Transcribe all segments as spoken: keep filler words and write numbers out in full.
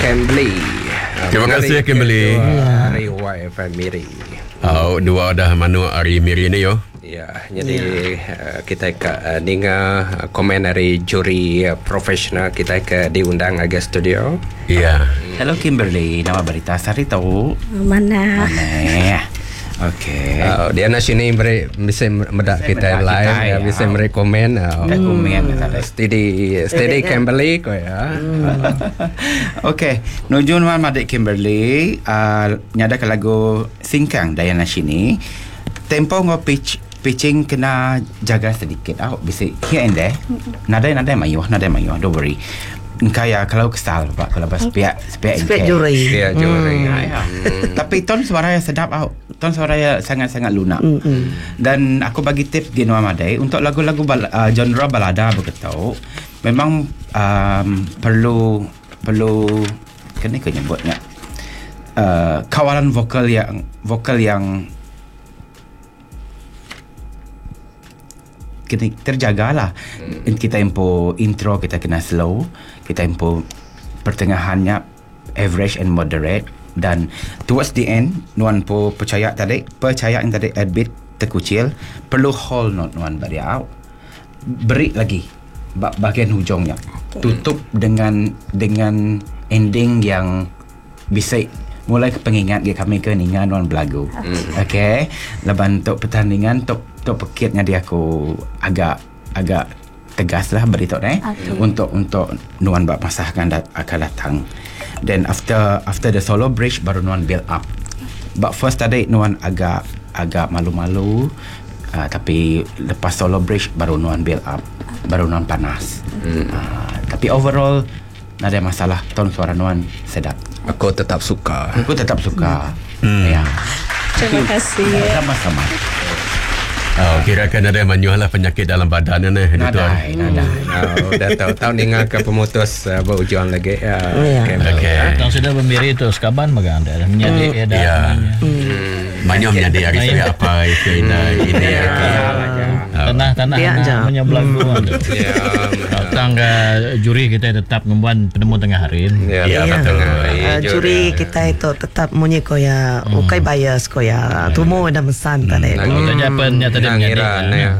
Kimberly. Terima kasih Kimberly. Hari Y F M Miri. Oh, dua dah manuk hari Miri ni yo. Ya, jadi ya. Kita ke uh, ninga komen dari juri uh, profesional kita ke diundang agak studio. Ya. Hello Kimberly, nama berita sari tahu. Mana? Mana? Okey. Uh, dia nak sini beri bisa medak kita live, kita, ya, bisa beri komen. Uh, komen hmm. Steady, steady Kimberly ko ya. Hmm. Okey, nujun wan madik Kimberly, uh, nyada ke lagu Singkang Dayana sini. Tempo ngo pitch pitching kena jaga sedikit. Ah, bisa here and there. Nadai nadai mayuh, nadai mayuh, don't worry. Kaya kalau kesal pak kalau pas pihak pihak pihak juri. Ya juri. Hmm. Ya. Hmm. Tapi ton suara yang sedap out. Ton suara yang sangat-sangat lunak. Hmm. Dan aku bagi tip Genwa Madai untuk lagu-lagu bal- uh, genre balada begitu memang um, perlu perlu kena ke nyebutnya uh, kawalan vokal yang vokal yang kena terjagalah. Hmm. Kita impo intro kita kena slow, kita impo pertengahannya average and moderate, dan towards the end nuan po percaya tadi, percaya yang tadi a bit terkucil, perlu hold note nuan bari out. Beri lagi bahagian hujungnya. Okay. Tutup dengan dengan ending yang bisa mulai ke pengingat ke kami ke ningan nuan belagu. Hmm. Okey, lepas untuk pertandingan untuk untuk pekitnya dia aku agak agak tegas lah beritahu eh okay. untuk untuk nuan bab masa akan dat- akan datang. Then after after the solo bridge baru nuan build up. But first tadi nuan agak agak malu-malu, uh, tapi lepas solo bridge baru nuan build up, baru nuan panas. Hmm. Uh, tapi overall tak ada masalah, ton suara nuan sedap. Aku tetap suka. Aku tetap suka. Hmm. Ya. Terima kasih. Sama-sama. Oh, kira kan ada manyuh lah penyakit dalam badan ni. Nadai, nadai. Oh, dah tahu tahu dengar ke pemutus uh, berujung lagi. Ya. Okey. Tang sudah bermiri tu sekaban magang dah menjadi ya dah. Ya. Manyuh menjadi hari saya apa itu ini ini. Tanah-tanah menyebelagu. Ya. Tang juri kita tetap membuat penemu tengah hari. Ya, ya betul. Uh, juri kita itu tetap munyi koya ukai bias koya tumu dah mesan tadi. Tanya apa nyata nak ngira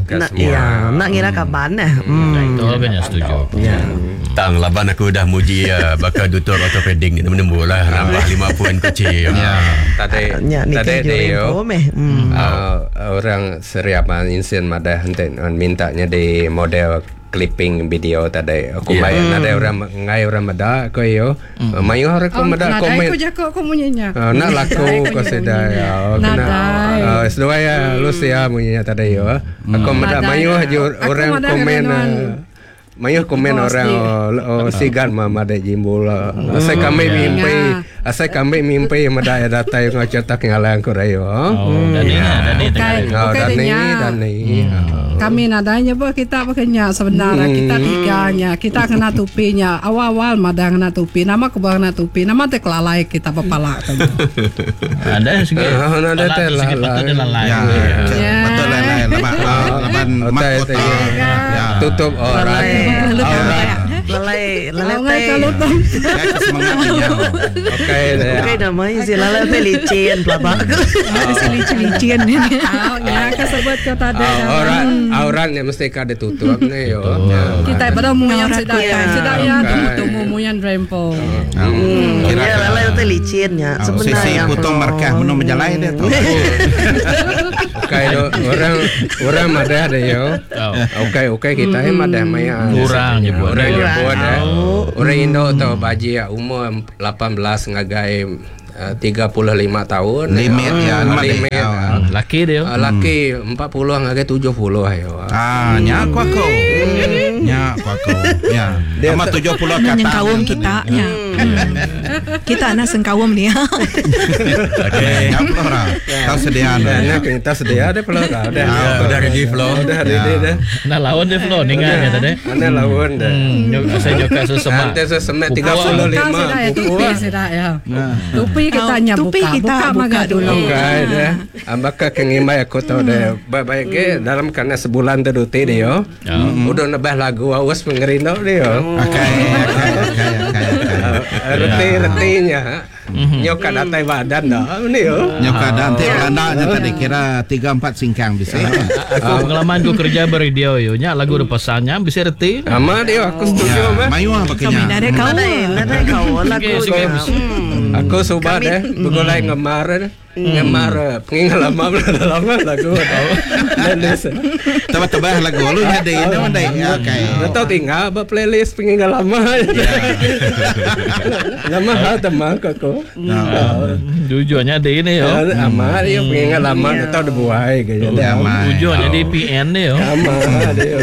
nak ya nak ngira kapan eh. Hmm. Itu banyak setuju. Ya. Tang laban aku dah muji ya bakal tutor ortopedik ni menembul lah nambah lima poin kecil. Ya. Tadi tadi dia orang seriapan insen madah hente mintanya di model clipping video tadi. Aku Yeah. bayar ada orang ngai orang meda ko yo. Mayu orang ko meda komen. Aku jago ko munyinya. Uh, nak laku ko seda ya. Kena. Uh, seduai ya Lucia munyinya tadi yo. Aku meda mayu orang komen. Mayu komen orang oh, oh, sigan mama de jimbul. Asai kami mimpi, asai kami mimpi meda ya datai ngacetak ngalang ko rayo. Oh, dani dani Oh, dani dani. Kami nadanya apa kita pakainya sebenarnya Hmm. kita tiganya kita kena tupinya awal-awal madang kena tupi nama kebang kena tupi nama teh kelalai kita pepala kan. Ada segi. Ada teh lalai. Ya. Betul lalai laban laban mahkota. Tutup orang. Lalai lalai teh. Semangatnya. Okey dah. Okey dah mai si lalai teh licin pelabak. Si licin-licin. Ah, ya kesebut ke tadi. Orang auratnya mesti ka ditutup ni yo. Kita pada muyan sedaya sedaya temu muyan rempo. Ya lalai teh licinnya sebenarnya. Sisi potong markah menung menjalai dia tu. Okey orang orang madah ada yo. Okey okey kita eh madah maya. Orang nyebut. Orang nyebut eh. Orang Indo tu baji umur lapan belas ngagai tiga puluh lima tahun. Limit ya, limit. Laki dia. Laki empat puluh ngagai tujuh puluh ayo. Ah, nya aku aku. Nya aku aku. Ya. Sama tujuh puluh kata. Nyengkawum kita nya. Kita nak sengkawum dia. Okey. Nya pelora. Tahu sedia dah. Kita sedia dah pelora. Dah. Udah ready flow. Udah ready dah. Nak lawan dia flow ningan ya tadi. Ana lawan dah. Saya joka sesemak. Nanti sesemak tiga puluh lima. Tupi sudah ya. Tupi kita nya buka. Kita buka dulu. Okey dah. Ambaka kengimai aku tahu dah. Baik-baik ke dalam kerana sebulan tu duti dia. Udah nebah lagu awas pengerindu dia. Okey okey okey okey. Reti-retinya nyoka datai badan dah ni yo. Nyoka dan ti Belanda nya tadi kira tiga empat singkang bisa. Aku pengalaman aku kerja beradio yo nya lagu depasannya bisa reti. Amat yo aku setuju mah. Mayuh Kami pakainya. nadai kau. Nadai, nadai kau lagu Okey, nya. okey. Aku subat eh begulai ngemar ngemar pengalaman lama lagu tau. Playlist. Tebah-tebah lagu lu jadi ini mana ya okey. Atau tinggal ba playlist pengalaman. Lama ha teman aku. Jujurnya di ini yo. Amat yo pengalaman atau dibuai ke jadi. Ujungnya di P N ni yo. Amat yo.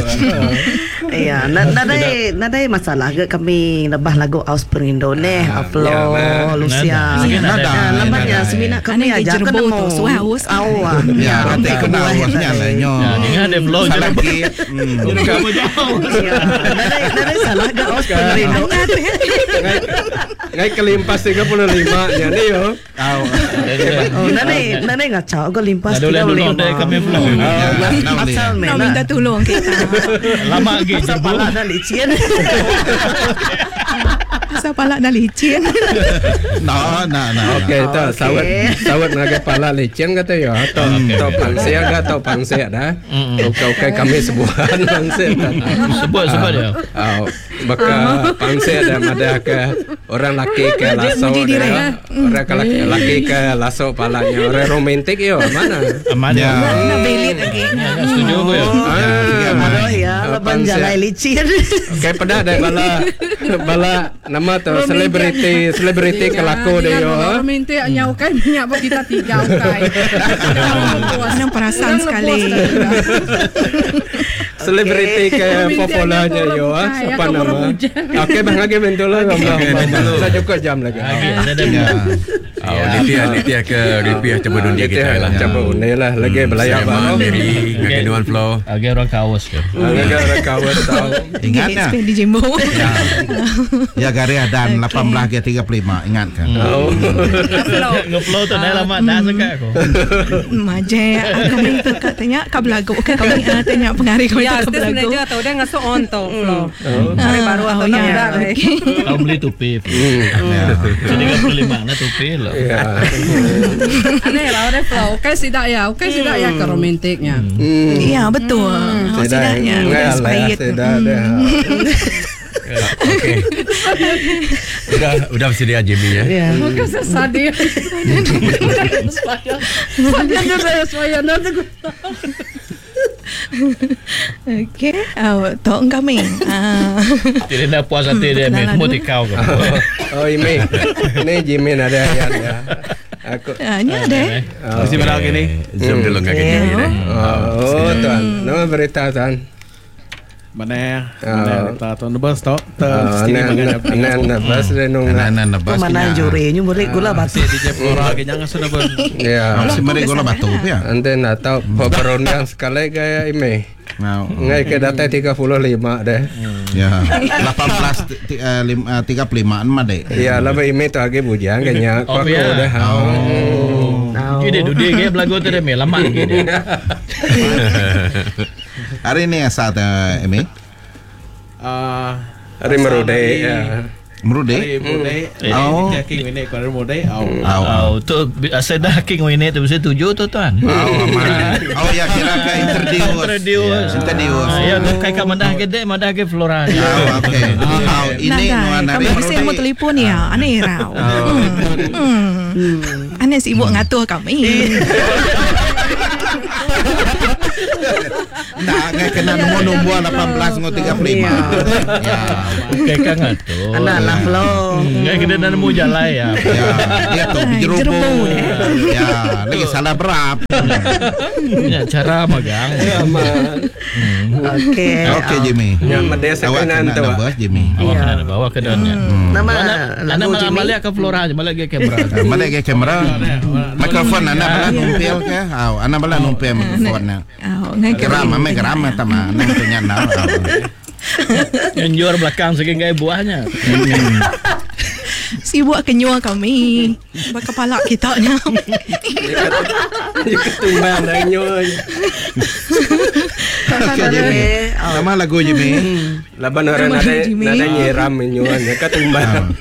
Iya, nadai nadai masalah ke kami lebah lagu Aus Perindu neh, Aflo, Lucia. Nadai. Lamanya semina kami Aneh aja jerebu kan tu, nemu. suah aus. Au ah. Ya, nanti kena awasnya lah nyo. Ingat ada flow je. Salah lagi. Hmm. Kamu jauh. Iya, nadai nadai salah ke Aus Perindu. Ngai kelimpas tiga puluh lima nya ni yo. Au. Oh, nadai nadai ngacau ke limpas Ada boleh dulu deh kami flow. Asal Nak mena. minta tolong kita. Lama lagi Asal jerebu. pala dah licin. Asal palak dah licin. No, no, no. Okey, tu Okey. sawat sawat ngagai pala licin kata yo atau atau pangsia ke atau pangsia dah. Okey okey kami sebuan pangsia dah. Sebut sebut dia. Ah, baka pangsia dah ada ke orang laki ke lasso Muji diri, dah. Orang ke laki, laki ke lasso palanya orang romantik yo mana? Aman Ya. ya. Nak belit lagi. Ya, setuju aku ya. Ah, Aduh ya, Ah, laban pangsia. jalai licin. Okey pedak dah bala bala nama tu selebriti selebriti ke laku dia yo. Romantik nya ukai minyak buat kita tiga ukai. Senang perasan sekali. Selebriti ke Romantik popularnya nya yo ah orang siapa bukai, nama? orang bujang. Okey bang lagi bentulah bang. Saya cukup jam lagi. Lagi ada dah. Ya. Oh, Nitya Nitya ke Ripiah cuba dunia kita lah. Cuba undi lah lagi belayak Sama baru. Mary ngagai Nuan Flow. Agak orang kawas ke. Lagi orang kawan tahu. Ingat ya. Spend di Jembo. Ya garis dan lapan belas ke tiga puluh lima ingat kan. Oh. Ngeflow tu dah lama dah sekat aku. Maje aku minta kat tanya kau belagu kan kami ah, tanya pengari kau Ya, itu kau stage belagu. manager atau dia ngasuh on tu flow. Hari baru atau Oh, nak ya. udah. Okey. Kau beli topi. Ya. Jadi tiga puluh lima na topi lah. Ya. Aneh lah orang flow. Okey sidak ya, okey sidak ya ke romantiknya. Ya betul. Oh, sidaknya udah expired. Sudah dah. Okey. Udah udah bersedia Jimmy ya. Ya. Bukan sesadih. Sadih tu saya saya nanti. Okey, oh, tok kami. Ah. Tidak nak puas hati dia, Perkenalan semua dulu. tikau ke. Oh ini ini Jimmy ada ya. ya. Aku Ah, ni ada. Mesti malam gini. Zoom dulu ngagai Jimmy deh. Oh, tuan. Nama berita tuan. Mana? Ah. Mana kita tuan bus tok. Ah, Sini nan nan nan bas dia nung. Nah, nah, nah, Tu mana juri nyu beri gula batu. Si D J Flora ke jangan sudah bus. Ya. Si beri gula batu ya. Ante nak tahu perundang sekali gaya ini. Nah, Ngai ke data tiga puluh lima deh. ya. lapan belas tiga puluh lima mah deh. Ya, lama ini tu lagi bujang kayaknya. Oh, Aku ya. udah. Oh. Jadi dudi ke belagu tu dia lama lagi dia. Hari ini asal eh, Emi. Ah, Hari merude ya. Merude. Hari muda. Oh. Oh. King ini kau hari muda. Oh. Au. Oh, tu asal dah king ini tu mesti tujuh tu tuan. Au, aman. Oh ya kira ke introduce. Introduce. Introduce. Ya, tu kai ka madah ke dek, madah ke Flora. Oh, okey. Au, ini nuan Nadai. hari Kami mesti mau merude. telefon ya. Aneh rau. Hmm. Hmm. Aneh sibuk ngatur kami. Nah, ngai kena nombor nombor lapan belas ngau tiga puluh lima. Ya. Kai ka ngatur. Anak lah flow. Ngai kena nak nemu jalan ya. Ya, dia tu Ai, jerubu. jerubu deh. Ya, lagi salah berap. Ya, cara magang. Aman. Okey. Okey Jimmy. Ya, medesa Awak kanan kena tu. nabas Jimmy. Awak kena bawa ke dalamnya. Nama Mana lagu malah Jimmy. balik ke Flora aja, balik ke kamera. Ah, Balik ke kamera. Mikrofon anak bala numpil ke? Au, anak bala numpil mikrofon na. Oh, ngai ke Geram, ame geram tama, nang punya na. Yang jual belakang segi ngai buahnya. Sibuk kenyua kami. Berkepala kita nya. Dia ketumbang dah nyo. Okey Jimmy. Nama lagu Jimmy. Laban orang Nama nadai Jimmy. nadai nyiram nyo nya ketumbang.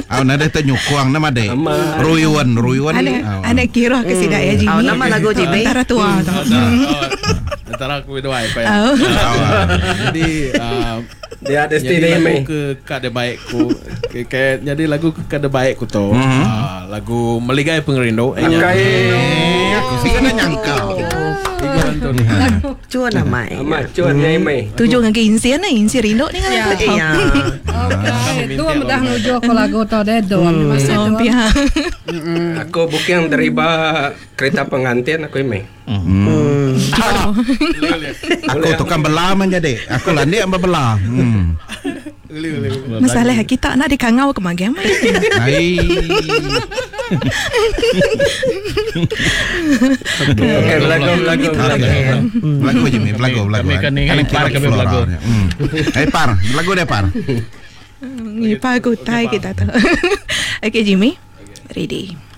Au nadai tenyukuang nama dek. Ama. Ruyuan, ruyuan. Anak Au. anak kira ke sidak ya Jimmy. Oh, nama lagu Jimmy. Antara tua tu. Antara aku dua apa ya. Oh. Au. Jadi ah, Dia ada jadi stay lagu mai. ke kada baik ku ke, ke, jadi lagu ke kada baik ku tu Mhm. ah, lagu Meligai Pengerindu eh, nya. Akai. Eh, aku sih kena nyangka. Tiga tu. Cuan namai. Amat cuan nyai mai. Tujuh dengan ke insian ni, insian rindu ni kan lagu tu. Iya. Okey, tu dah nuju ke lagu tu deh dom. Masih Oh, tu. pihak. Aku booking dariba kereta pengantin aku mai. Hmm. Aku tukang bela man jadi. Aku landik ambak bela. Hmm. Masalah kita nak dikangau ke magam. Ai. Okey, lagu lagu lagu. Okey. Lagu Jimmy, lagu lagu. Kami kan ni par kami belagu. Hmm. Eh par, lagu dia par. Ni pagu tai kita tu. Okey Jimmy. Ready.